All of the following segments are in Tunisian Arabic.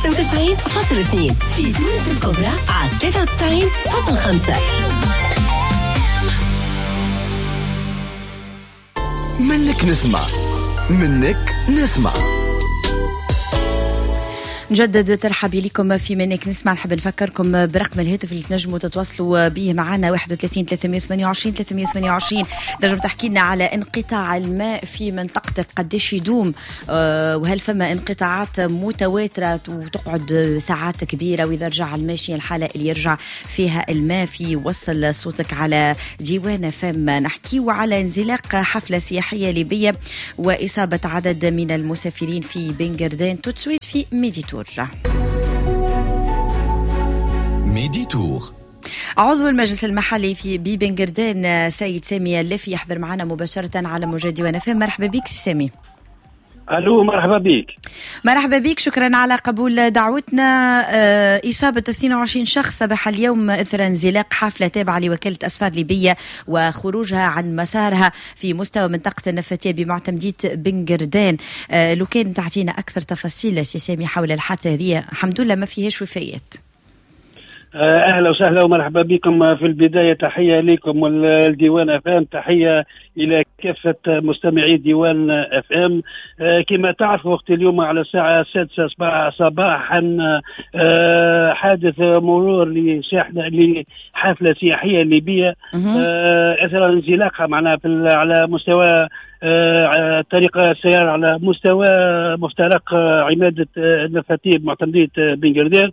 91.2، في تونس الكبرى على 93.5. منك نسمع، منك نسمع. نجدد ترحبي لكم في منك نسمع. نحب نفكركم برقم الهاتف اللي تنجموا تتواصلوا به معنا 31 328 328. تنجم تحكي لنا على انقطاع الماء في منطقتك، قداش يدوم، وهل فما انقطاعات متواترة وتقعد ساعات كبيرة، وإذا رجع الماء شنو الحالة اللي يرجع فيها الماء. في وصل صوتك على ديوان فم. نحكيو على انزلاق حفلة سياحية ليبية وإصابة عدد من المسافرين في بنقردان. تتسويت في ميديتور. ميديتور. عضو المجلس المحلي في بنقردان سيد سامي اللافي يحضر معنا مباشرة على موجات ديوان فم. مرحبا بك سي سامي. الو، مرحبا بك. مرحبا بك، شكرا على قبول دعوتنا. إصابة 22 شخص صباح اليوم إثر انزلاق حافلة تابعة لوكالة أسفار ليبية وخروجها عن مسارها في مستوى منطقة النفاتية بمعتمدية بنقردان. لو كان تعطينا أكثر تفاصيل سي سامي حول الحادثة هذه. الحمد لله ما فيهاش وفيات. اهلا وسهلا ومرحبا بكم. في البداية تحية لكم والديوان اف ام، تحية الى كافة مستمعي ديوان اف ام. كما تعرفوا وقت اليوم على الساعة 6 صباحا حادث مرور لحفله سياحية ليبية اثر انزلاقها معناها على مستوى طريق السيارة على مستوى مفترق عمادة النفاتية بمعتمدية بنقردان.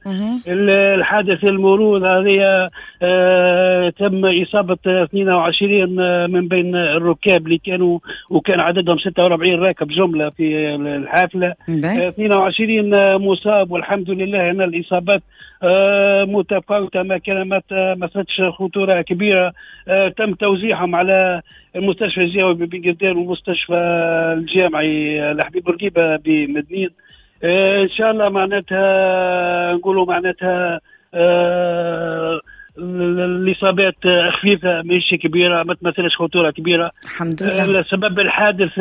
الحادث المرور هذه تم إصابة 22 من بين الركاب اللي كانوا، وكان عددهم 46 راكب جملة في الحافلة. 22 مصاب، والحمد لله أن الإصابات متفاوتة، ما كان ما صارتش خطورة كبيرة. تم توزيعهم على المستشفى الجهوي ببنقردان والمستشفى الجامعي لحبيب بورقيبة بمدنين. إن شاء الله معناتها نقولوا معناتها الإصابات خفيفة مش كبيرة، ما تمثلش خطورة كبيرة الحمد لله. سبب الحادث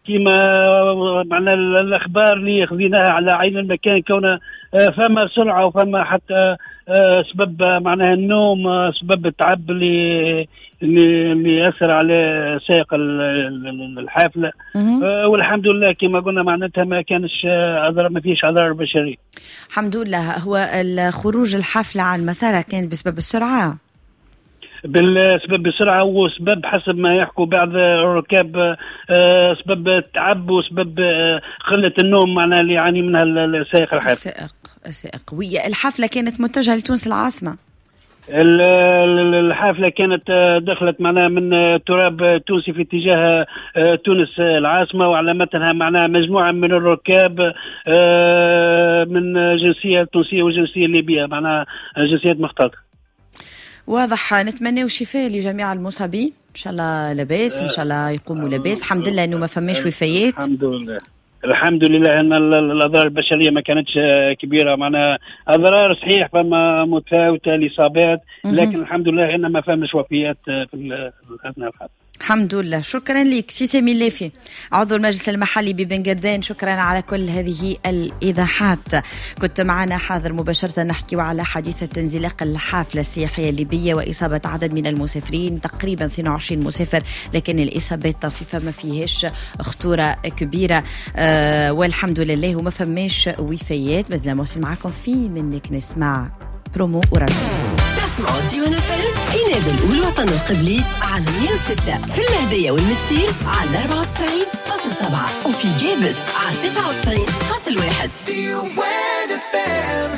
كما معنا الأخبار اللي خذيناها على عين المكان، كون فما سرعة وفما حتى سبب معناها النوم، سبب التعب اللي أثر على سائق الحافلة. والحمد لله كما قلنا معناتها ما كانش أضرار، ما فيش أضرار بشري الحمد لله. هو الخروج الحافلة عن مسارها كان بسبب السرعة؟ بالسبب السرعة، وسبب حسب ما يحكوا بعض الركاب سبب التعب وسبب قلة النوم معناها اللي يعاني منها السائق الحافلة. السائق. والحافلة كانت متجهة لتونس العاصمة؟ الحافلة كانت دخلت معناها من التراب التونسي في اتجاه تونس العاصمة، وعلى متنها معناها مجموعة من الركاب من جنسية تونسية وجنسية ليبية، معناها جنسيات مختلطة. واضح. نتمنى شفاء لجميع المصابين، ان شاء الله لاباس، ان شاء الله يقوموا لاباس. الحمد لله انه ما فماش وفيات. الحمد لله، الحمد لله ان الاضرار البشرية ما كانتش كبيرة، معناها اضرار صحيح فما متفاوتة الاصابات، لكن الحمد لله ان ما فماش وفيات في اثناء الحادث. الحمد لله. شكرا لك سي سامي اللافي عضو المجلس المحلي ببنقردان، شكرا على كل هذه الإيضاحات. كنت معنا حاضر مباشرة نحكي على حادثة انزلاق الحافلة السياحية الليبية وإصابة عدد من المسافرين، تقريبا 22 مسافر، لكن الإصابات طفيفة ما فيهاش خطورة كبيرة، والحمد لله وما فماش وفيات. مازلنا مواصلين معكم في منك نسمع برومو ورجل. تسمعوا ديوان فم في نابل والوطن القبلي على 106، في المهدية والمستير على 94.7، وفي جابس على 99.1. ديوان فم،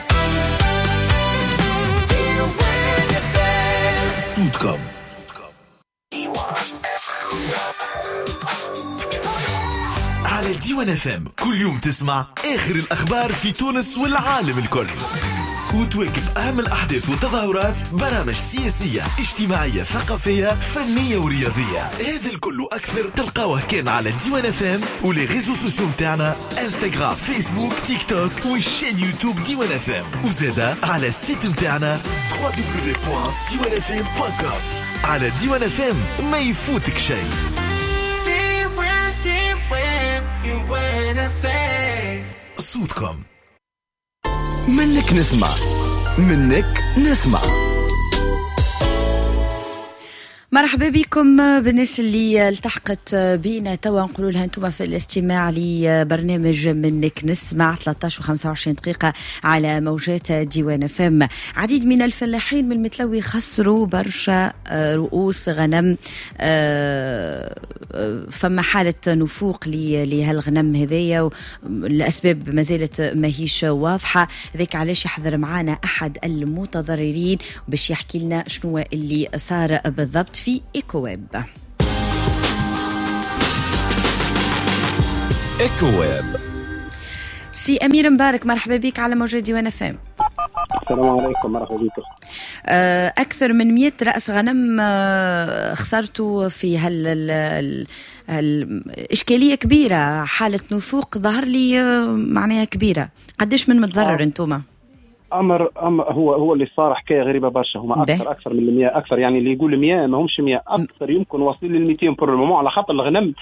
ديوان فم، صوتكم على ديوان فم. كل يوم تسمع آخر الأخبار في تونس والعالم الكل، وتواكب أهم الأحداث والتظاهرات، برامج سياسية، اجتماعية، ثقافية، فنية ورياضية. هذا الكل وأكثر تلقاوه كان على ديوان FM و les réseaux sociaux متاعنا، انستغرام، فيسبوك، تيك توك وال chaîne يوتيوب ديوان FM، وزادة على ال site متاعنا www.diwanfm.com. على ديوان FM ما يفوتك شيء. صوتكم. منك نسمع، منك نسمع. مرحبا بكم بالناس اللي التحقت بينا توا، نقولوا لها انتم في الاستماع لبرنامج منك نسمع 13:25 دقيقة على موجات ديوان فم. عديد من الفلاحين من المتلوي خسروا برشا رؤوس غنم، فما حالة نفوق لهالغنم هذايا، الأسباب ما زالت ماهيش واضحة. ذاك علاش يحضر معانا أحد المتضررين باش يحكي لنا شنو اللي صار بالضبط في إيكوويب. إيكوويب. سي أمير مبارك، مرحبا بك على موجة ديوان FM. السلام عليكم، مرحبا بكم. أكثر من 100 رأس غنم خسرتوا في هالإشكالية كبيرة، حالة نفوق ظهر لي معناها كبيرة. قديش من متضرر انتوما؟ امر هو اللي صار حكاية غريبة برشا. هما اكثر من 100، اكثر يعني اللي يقول 100 ما همش 100، اكثر يمكن واصلين لل 200 pour le moment، على خاطر الغنم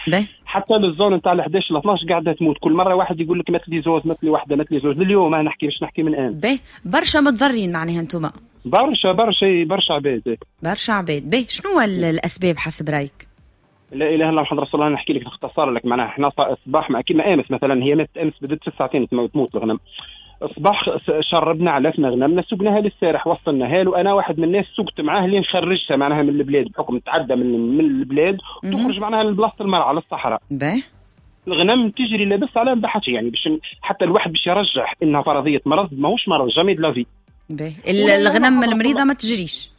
حتى لل zone نتاع 11 ل 12 قاعدة تموت. كل مرة واحد يقول لك مات لي زوز، مات لي واحدة، مات لي زوز. لليوم انا نحكي باش نحكي من الان. برشا متضررين معناها انتم. برشا برشا برشا عباد، برشا عباد. به شنو الاسباب حسب رايك؟ لا اله الا الله محمد رسول الله. نحكي لك باختصار لك معناها احنا الصباح كيما امس مثلا، هي ماتت امس بدات في الساعتين تموت الغنم. الصباح شربنا علفنا غنمنا، سقناها للسارح، وصلناها له. انا واحد من الناس سقت معاه لين خرجتها معناها من البلاد، بحكم تعدى من البلاد وتخرج معناها لبلاصه المرعى للصحراء. الغنم تجري لابس على بحث، يعني باش حتى الواحد باش يرجح انها فرضية مرض، ماهوش مرض jamais de la vie. الغنم المريضة ما تجريش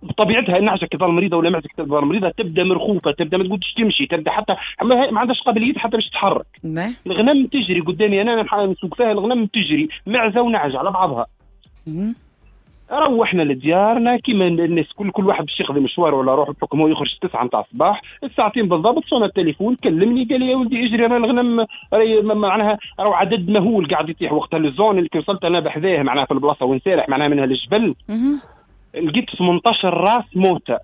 بطبيعتها. النعجه كي تظل مريضه ولا معزة كي تظل مريضه تبدا مرخوفه، تبدا ما تقدرش تمشي، تبدا حتى ما عندهاش قابلية حتى باش تتحرك. الغنم تجري قدامي انا نسوق فيها، الغنم تجري معزة ونعجه على بعضها. روحنا لديارنا كيما الناس كل واحد باش يقضي مشواره ولا روح، بحكم هو يخرج 9 نتاع الصباح، الساعتين بالضبط صونا التليفون، كلمني قال لي يا ولدي اجري انا الغنم معناها راهو عدد مهول قاعد يطيح. وقتها ال zone اللي وصلت انا بحذاه معناها في البلاصة وين سارح معناها منها للجبل، لقيت 18 راس موتة،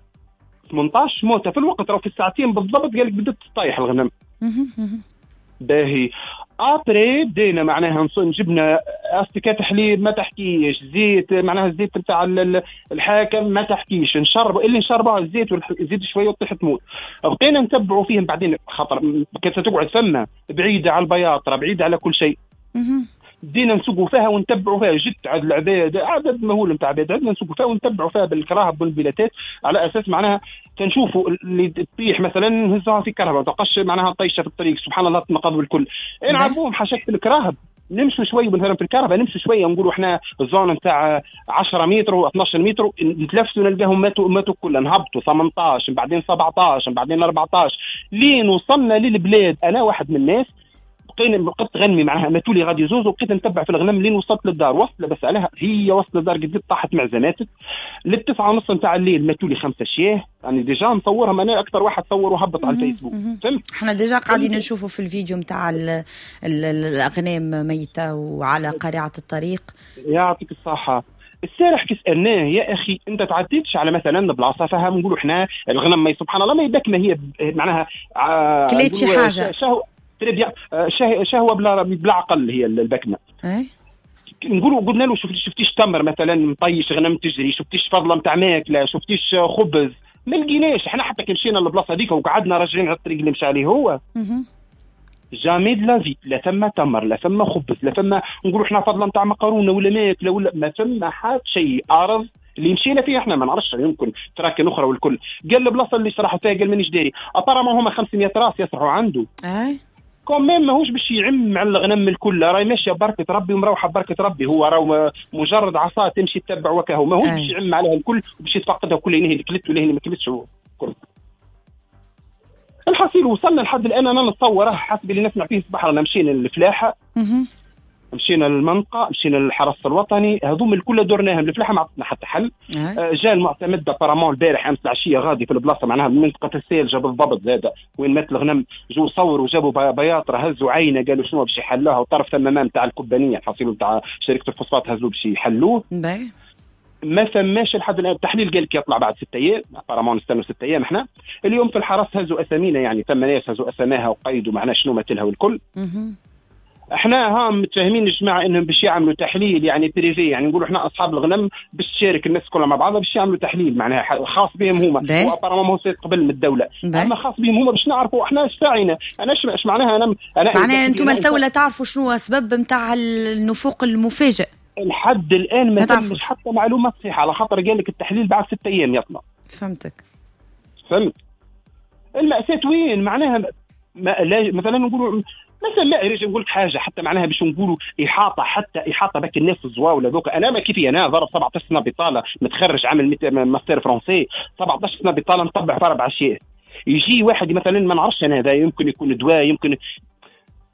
18 موتة في الوقت، راهو في الساعتين بالضبط قال لك بدات تطيح الغنم. باهي après بدينا معناها جبنا استكات حليب ما تحكيش، زيت معناها الزيت نتاع الحاكم ما تحكيش، نشرب اللي نشربها الزيت والزيت شوية وتطيح تموت. بقينا نتبعوا فيهم بعدين، خاطر كانت تقعد فما بعيدة على البياطره، بعيدة على كل شيء. بدينا نسوقوا فيها ونتبعوا فيها، جت عدد العباد، عدد مهول نتاع عباد، عندنا نسوقوا فيها ونتبعوا فيها بالكراهب والبيلاتات، على اساس معناها كنشوفوا اللي تطيح مثلا نهزوها في كرهبه، ما تبقاش معناها طيشه في الطريق. سبحان الله تنقضوا الكل، نعرفوهم حاشاك في الكراهب، نمشوا شوية مثلا في الكهرباء، نمشوا شوية نقولوا احنا ال zone نتاع 10 متر و 12 متر، نتلفتوا نلقاهم ماتوا كلها، نهبطوا 18 بعدين 17 بعدين 14 لين وصلنا للبلاد. انا واحد من الناس بقيت غنمي معناها ماتوا لي غادي زوز، وبقيت نتبع في الغنم لين وصلت للدار. وصلت بس عليها هي وصلت للدار قد طاحت معزة ماتت. لل9:30 نتاع الليل ماتوا لي 5 شياه، يعني déjà مصورهم انا، اكثر واحد صور وهبط على الفيسبوك. فهمت؟ احنا déjà قاعدين نشوفوا في الفيديو نتاع الاغنام ميته وعلى قارعة الطريق. يعطيك الصحة. السارح كي سالناه يا اخي انت تعديتش على مثلا بلاصة فيها نقولوا احنا الغنم ما سبحان الله ما يباك، ما هي معناها كليت شي حاجة شهوة بلا عقل هي البكمه. نقولوا قلنا له شفتيش تمر مثلا مطيش غنم تجري، شفتيش فضله نتاع ماكله، شفتيش خبز، ما لقيناش. احنا حتى كي مشينا للبلاصه هذيك وقعدنا راجعين على الطريق اللي مشى عليه هو، jamais de la vie، لا ثم تمر لا ثم خبز لا ثم نقولوا احنا فضله نتاع مقرونة ولا ماكله ولا ما ثم حتى شيء. ارض اللي مشينا فيها احنا ما نعرفش يمكن تراكن اخرى والكل. قال البلاصة اللي سرحوا فيها قال مانيش داري، apparemment هما 500 راس يسرحوا عنده. quand même ماهوش باش يعم على الغنم الكل، راهي ماشية بركة ربي ومروحه بركة ربي، هو راهو مجرد عصا تمشي تتبع وكهو، ماهوش باش يعم عليها الكل وباش يتفقدها كل هي اللي كلت ولا هي اللي ما كلتش الكل. الحصيل وصلنا لحد الان انا نتصوره حسب اللي نسمع فيه صباح، رانا مشينا للفلاحه، مشينا للمنطقة، مشينا للحرس الوطني، هذوم الكل درناهم. الفلاحة ما عطتنا حتى حل. جاء المعتمد apparemment البارح امس العشية غادي في البلاصة معناها منطقة السالجه بالضبط زاده وين مات الغنم، جو صوروا جابوا بياطره هزوا عينه قالوا شنو باش يحلوها، وطرف ثم نتاع الكبانيه الحصيل نتاع شركة الفوسفات هزوا باش يحلوه. ما ثماش لحد الان التحليل، قال لك يطلع بعد 6 ايام، apparemment نستنوا 6 ايام. احنا اليوم في الحرس هزوا اسامينا، يعني ثم ناس هزوا اساماها وقيدوا معناها شنو ماتلها والكل. احنا ها متفاهمين الجماعة انهم باش يعملوا تحليل يعني privé، يعني نقولوا احنا اصحاب الغنم باش تشارك الناس كلها مع بعضها باش يعملوا تحليل معناها خاص بهم هما، هو apparemment هو قبل من الدولة، اما خاص بهم هما باش نعرفوا احنا اش فاعلنا. انا اش معناها انا معناها انتم الدولة تعرفوا شنو سبب نتاع النفوق المفاجئ؟ لحد الان ما تمش حتى معلومة صحيحه، على خاطر قال لك التحليل بعد 6 ايام يطلع. فهمتك. فهمت المأساة وين معناها؟ ما لا مثلا نقولوا مثلا ما ريج نقول لك حاجة حتى معناها باش نقولوا احاطة، حتى احاطة بك الناس الزواوله ذوك. انا ما كيفي انا ضرب 17 سنة بطاله، متخرج عامل ماستر français، 17 سنة بطاله، نطبع في 4 اشياء. يجي واحد مثلا ما نعرفش انا، هذا يمكن يكون دواء، يمكن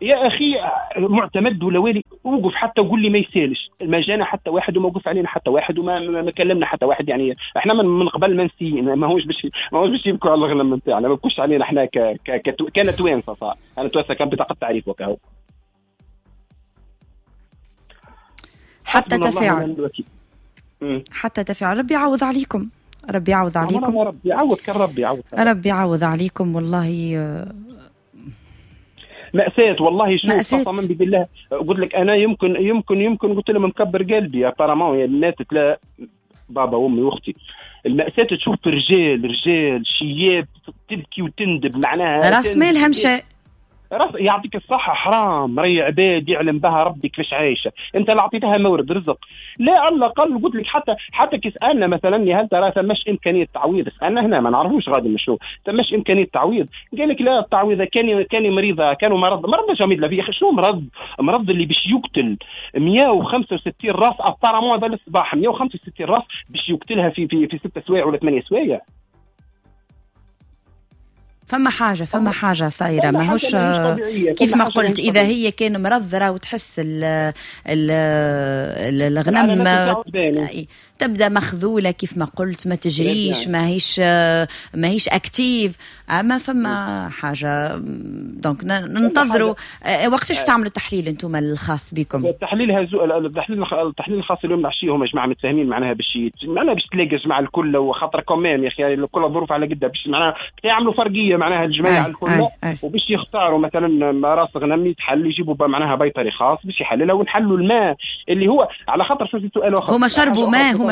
يا اخي معتمد ولا والي، وقف حتى وقول لي ما يسالش، ما جانا حتى واحد وما وقف علينا حتى واحد وما كلمنا حتى واحد. يعني احنا من قبل ما نسي، ما هوش باش يبكوا على الغنم نتاعنا، ما بكوش علينا احنا كان توانسة صار. انا توانسة كان بطاقة تعريف وكهو. حتى تفاعل، حتى تفاعل. ربي يعوض عليكم، ربي يعوض عليكم، ربي يعوض، كان ربي يعوض، ربي يعوض عليكم. والله مأساة والله. شوف قسما بالله قلت لك انا يمكن يمكن يمكن قلت لهم مكبر قلبي apparemment ماتت لا بابا وامي واختي. المأساة تشوف رجال شياب تبكي وتندب معناها راس مالها مشى. راس يعطيك الصحة، حرام، ري عباد يعلم بها ربي كيفاش عايشة. انت اللي عطيتها مورد رزق، لا على الاقل قلت لك حتى كي سألنا مثلا هل ترى ثماش امكانية تعويض، سألنا هنا ما نعرفوش غادي مشو ثماش امكانية تعويض، قال لك لا التعويض كان مريضة، كانوا مرض جميل. لا في شنو مرض اللي باش يقتل 165 راس apparemment هذا الصباح، 165 راس باش يقتلها في في في 6 سوايع ولا 8 سوايع. فما حاجة صايرة ماهوش كيف ما قلت. إذا هي كان مرض راهو تحس الغنم تبدأ مخذولة كيف ما قلت، ما تجريش، ماهيش active. أما فما حاجة donc ننتظروا وقتاش تعملوا التحليل أنتم الخاص بكم؟ التحليل التحليل الخاص اليوم العشية هما جماعة متفاهمين معناها باش تلاقي جماعة الكل، وخاطر كمان يا أخي كل الظروف على قدها باش معناها يعملوا فرقية معناها الجماعة الكل، وباش يختاروا مثلا راس غنم يتحل، يجيبوا معناها بيطري خاص باش يحللها، ونحلوا الماء اللي هو على خاطر شو سؤال اخر. هما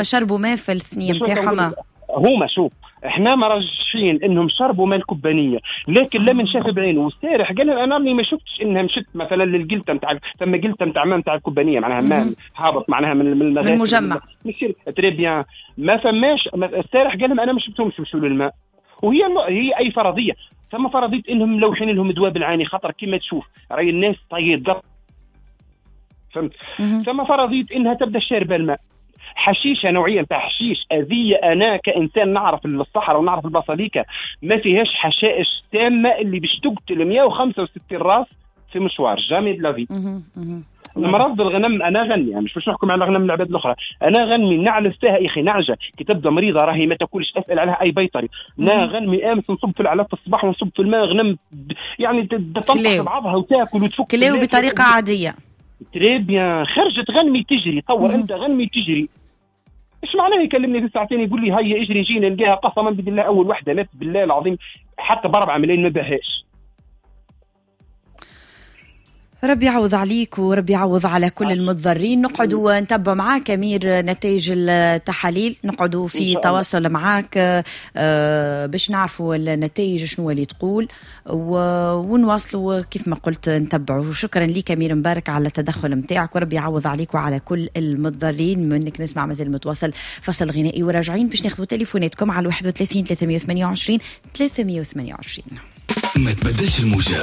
شربوا ماء في الثنية نتاعهم. هما شوف احنا مرجحين انهم شربوا ماء الكبانيه، لكن لا من شاف بعينه والسارح قال انا راني ما شفتش انها مشت مثلا للقلته نتاع ثم قلته نتاع ماء نتاع الكبانيه معناها ماء هابط معناها من المجمع très bien. ما فماش السارح قال لهم انا ما شفتهمش مشوا للماء. وهي هي اي فرضية، ثم فرضية انهم ملوحين لهم دواء بالعاني، خاطر كما تشوف راي الناس طيب، فهمت. ثم فرضية انها تبدا شاربه الماء حشيشه، نوعية نتاع حشيش اذيه. انا كانسان نعرف الصحراء ونعرف البصليكه ما فيهاش حشائش تامة اللي باش تقتل 165 راس في مشوار jamais de la vie. المرض الغنم انا غني يعني مش باش نحكم على غنم العباد الاخرى، انا غنمي نعلف فيها يا اخي نعجة كي تبدا مريضه راهي ما تاكلش، اسال عليها اي بيطري. نا غنمي امس نصب في العلف في الصباح ونصب في الماء، غنم يعني تنطح بعضها وتاكل وتفك كلاو بطريقة عادية très bien. خرجت غنمي تجري، طور انت غنمي تجري، ايش معناه يكلمني في ساعتين يقول لي هيا اجري جينا نلقاها قسما بالله اول وحده مات بالله العظيم حتى ب4 ملايين ما باهاش. ربي يعوض عليك وربي يعوض على كل المتضررين. نقعدوا نتبع معاك أمير نتائج التحاليل، نقعدوا في تواصل معاك باش نعرفوا النتائج شنو اللي تقول ونواصلوا كيف ما قلت نتبعوا. شكرا لك أمير مبارك على التدخل متاعك، وربي يعوض عليك وعلى كل المتضررين. منك نسمع مازال متواصل فصل غنائي وراجعين باش ناخذوا تليفوناتكم على 31 328 328. ما تبدلش الموجة،